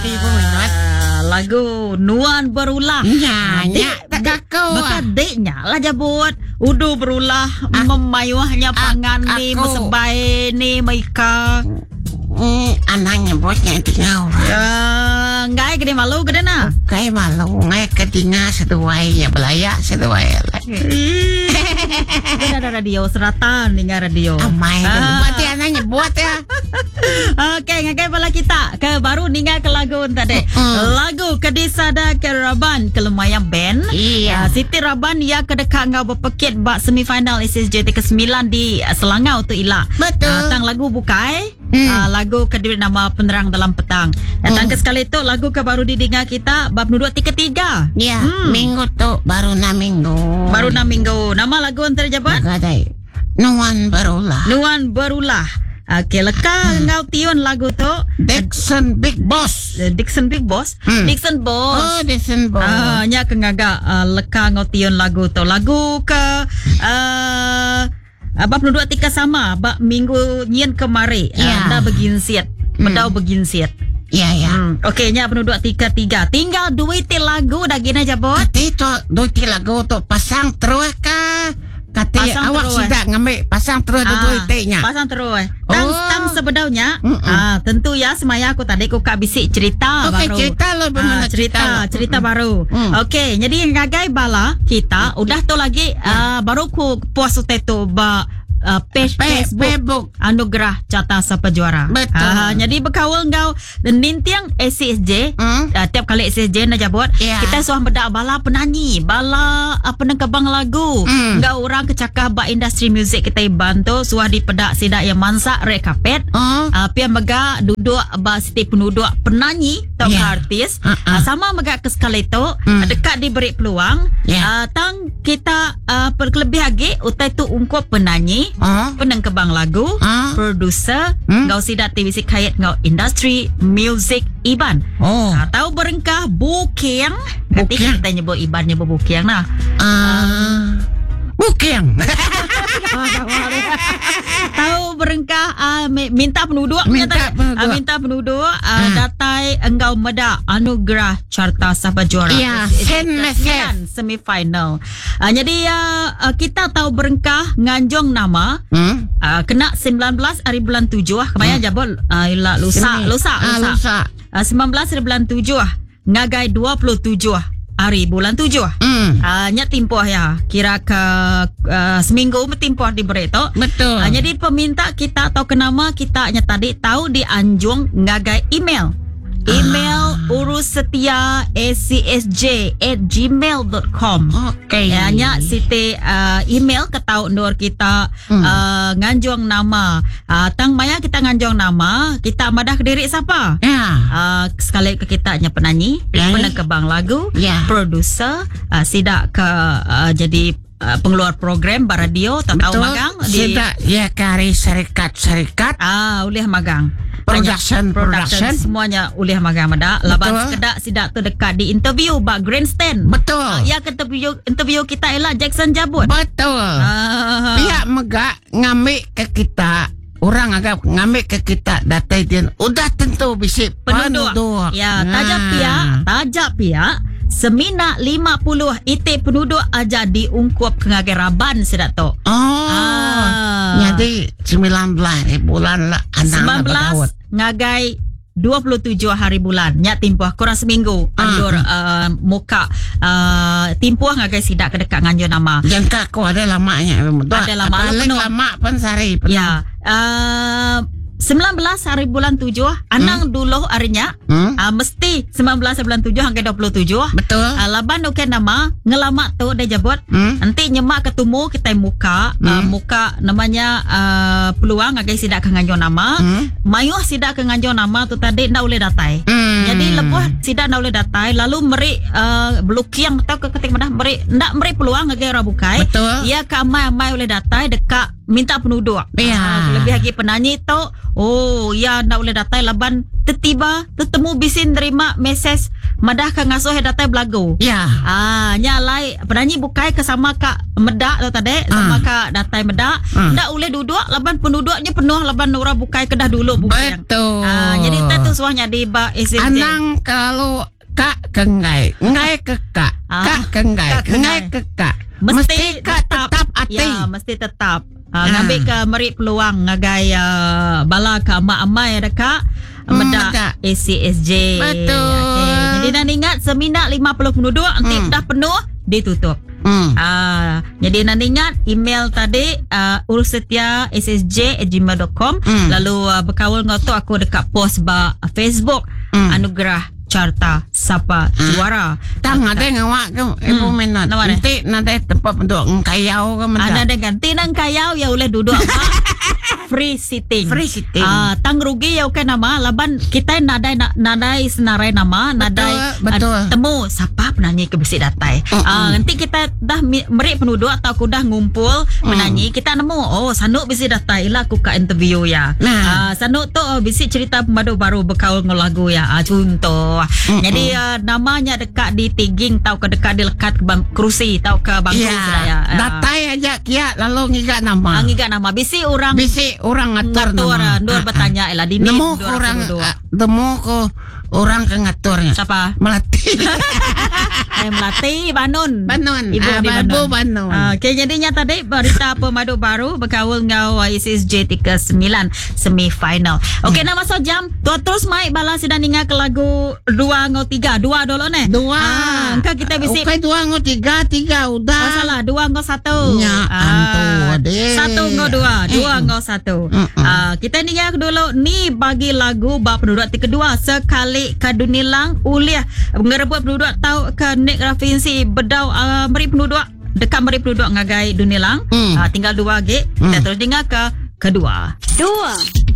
Ah, lagu Nuan Berulah. Nya, Ah, nya tak aku. Baka dek nya lah jabut. Udu berulah memayuhnya pangan ni aku. mesebai ni meika. Anang nyebut nya tingau. Uh, ngai gede malu gede na. Kai malu ngai ke dinga seduai nya belaya seduai. Gede ada radio serata ninga radio. Amai Ah. Berarti anang nyebut ya. Okey, ngagai bala kita ke baru ninga ke lagu tadi. Lagu ke disada ke Raban ke Lemayang Band. Iya. Ah, Siti Raban ia ke deka ngau berpekit ba semifinal SSJ ke-9 di Selangau tu ila. Betul. Ah, tang lagu bukai. Ah, lagu ke diberi nama Penerang Dalam Petang. Datang ke sekali tu lagu ke baru didengar kita bab nuduk ti ketiga. Ya, minggu tu baru enam minggu. Baru 6 minggu. Nama lagu antara jabat? Gadai. Nuan berulah. Nuan Berulah. Okey, leka ngau tiun lagu tu. Dixon Big Boss. Dixon Big Boss. Dixon Boss. Oh, Dixon Boss. Ah, nya ke ngaga leka ngau tiun lagu tu. Lagu ke abang penduduk tika sama bak minggu nyin kemari. Ya. Dah beginsiat. Bedau beginsiat. Ya, ya. Okey, nya penduduk tika tiga. Tinggal duit ti lagu dah gina jabot. Kati tu duit lagu tu pasang terus ke? Kati Pasang awak terus. sudah ngambil pasang terus ah, duit nya. Pasang terus. Tang Oh. tang sebedaunya, Mm-mm. tentu ya semaya aku tadi ku kak bisik cerita Okey, baru. cerita lah bagaimana Ah, cerita, cerita lah. cerita baru. Okey, jadi ngagai bala kita udah tu lagi baru ku puas utai tu ba page Facebook Facebook. Anugerah Carta Sapa Juara. Betul. Jadi berkawal ngau nintiang ACSJ. Tiap kali ACSJ nak jabut, Ya. kita suah bedak bala penyanyi, bala penengkebang lagu. Ngau orang kecakah ba industri muzik kita bantu suah dipedak sidak yang mansak red carpet. Oh. Pia mega duduk ba siti penduduk penyanyi atau Ya. artis. Ha-ha. Sama mega ke sekali tu dekat diberi peluang. Ya. Tang kita perkelebih lagi utai tu ungkup penyanyi, Oh. penengkebang lagu, Ah. producer, ngau sidak TVC kait ngau industri music Iban. Oh. Tahu berengkah buking. Nanti Buking. kita nyebut Iban nyebut buking lah. Ah. Buking. Tahu berengkah minta penduduk Minta nyata. penduduk. Minta penduduk datai engkau medak anugerah Carta Sapa Juara. Ya, send message. Sembilan semifinal. Jadi kita tahu berengkah nganjung nama kena 19 hari bulan 7 kemaya jabol ila lusa Semi. lusa Ah, lusa. lusa. 19 hari bulan 7 ngagai 27 hari bulan 7. Nya timpuh ya. Kira ke seminggu timpuh diberi tu. Betul. Jadi peminta kita atau kenama kita nya tadi tahu dianjung ngagai email. Email urus setia acsj at gmail dot com. Okey. Ya, nya siti email ke tau nur kita nganjung nama. Tang maya kita nganjung nama, kita madah ke diri siapa? Ya. Sekali ke kita nya penyanyi, Ya. penengkebang lagu, Ya. producer, sidak ke jadi pengeluar program baradio atau Betul. magang di Sidak ya kari serikat-serikat. Ulih magang. Production, Banyak production. semuanya ulih magang medak. Laban Betul. sekedak sidak tu dekat di interview bak grandstand. Betul. Ya ke interview kita ialah Jackson Jabut. Betul. Pihak megak ngambil ke kita orang agak ngambil ke kita datai dia udah tentu bisi Penduduk. penduduk. Ya, tajak pihak, tajak pihak semina 50 itik penduduk aja diungkup ke ngagai raban sedak tu. Oh. Jadi 19 hari bulan lah anak 19 ngagai 27 hari bulan. Nya timpuh kurang seminggu anjur muka timpuh ngagai sidak ke dekat nganjur nama. Jangka aku ada lamanya. Ada lama, Paling penuh. lama pun sehari penuh. Ya. 19 hari bulan 7 anang dulu harinya. Mesti 19 hari bulan 7 hingga 27. Betul. Laban okey nama ngelamak tu dia jabut. Nanti nyemak ketemu kita muka muka namanya peluang agai sidak ke nganjo nama. Mayuh sidak ke nganjo nama tu tadi ndak boleh datai. Jadi lebuh sidak ndak boleh datai lalu meri belukiang atau ke ketik madah meri ndak meri peluang agai orang bukai. Betul. Ya ke amai-amai boleh datai dekat minta penduduk. Ya. Lebih lagi penyanyi tu, oh ya ndak boleh datai laban Tetiba tetemu bisi nerima mesej madah ke ngasuh iya datai belagu. Ya. Ah, nya alai penanyi bukai ke sama ka meda tu tadi, sama ka datai meda, enda ulih duduk laban penduduknya penuh laban orang bukai ke dah dulu booking. Betul. Ah, jadi utai tu suah nyadi ba SSJ. Anang kelalu ka ke enggai, enggai ke ka, Ah. ka ke enggai, Ka ke enggai enggai. ke ka. Mesti, ka tetap, ati. Ya, mesti tetap. Ah. Ngambi ke meri peluang ngagai bala ke amai-amai deka meda Meda. ACSJ. Betul. Okey. Jadi dah ingat semina 50 penduduk enti dah penuh ditutup. Jadi anda ingat email tadi urusetiassj@gmail.com lalu berkaul ngau tu aku dekat post ba Facebook Anugerah Carta Sapa Juara. Tang ada ngawak ke ibu minat. Nama dia? Nanti nanti tempat untuk ngkayau ke mendak. Ada ada ganti nang kayau ya boleh duduk apa? Free sitting. Free sitting. Tang rugi ya bukan nama laban kita nadai nadai senarai nama, nadai betul. Temu siapa penyanyi ke bisi datai. Nanti kita dah meri penduduk atau aku dah ngumpul penyanyi, kita nemu oh sanu bisi datai lah aku ka interview ya. Nah. Sanu tu oh, bisi cerita pemadu baru berkaul dengan lagu ya. Contoh. Jadi namanya dekat di tiging tau ke dekat dilekat ke kerusi tau ke bangku Ya. sudah ya. Datai aja kia lalu ngiga nama. Ngiga nama. Bisi orang Bisi orang ngatur ngatur, nama. Ndur bertanya lah dini Nemu ndur orang aku duduk. nemu ko orang ke ngaturnya. Siapa? Melati. Melati Banun. Banun. Ibu di Ibu Banun. Banun. Okey, jadinya tadi berita pemadu baru berkaul ngau ICSJ 39 semi final. Okey, nak masuk jam. Tua terus mai bala sedang ninga ke lagu 2 ngau 3. 2 dulu ne. Dua. Engkau kita bisi Okey, dua ngau tiga, tiga udah. Oh, salah, 2 ngau 1. Ya, antu adik. 1 ngau 2, 2 ngau 1. Kita ninga dulu ni bagi lagu bab penduduk ti kedua sekali kadunilang uliah ngerebut penduduk tau ke Nick Rafinsi bedau meri penduduk dekat meri penduduk ngagai Dunilang. Tinggal 2 lagi. Kita terus dengar ke kedua. 2.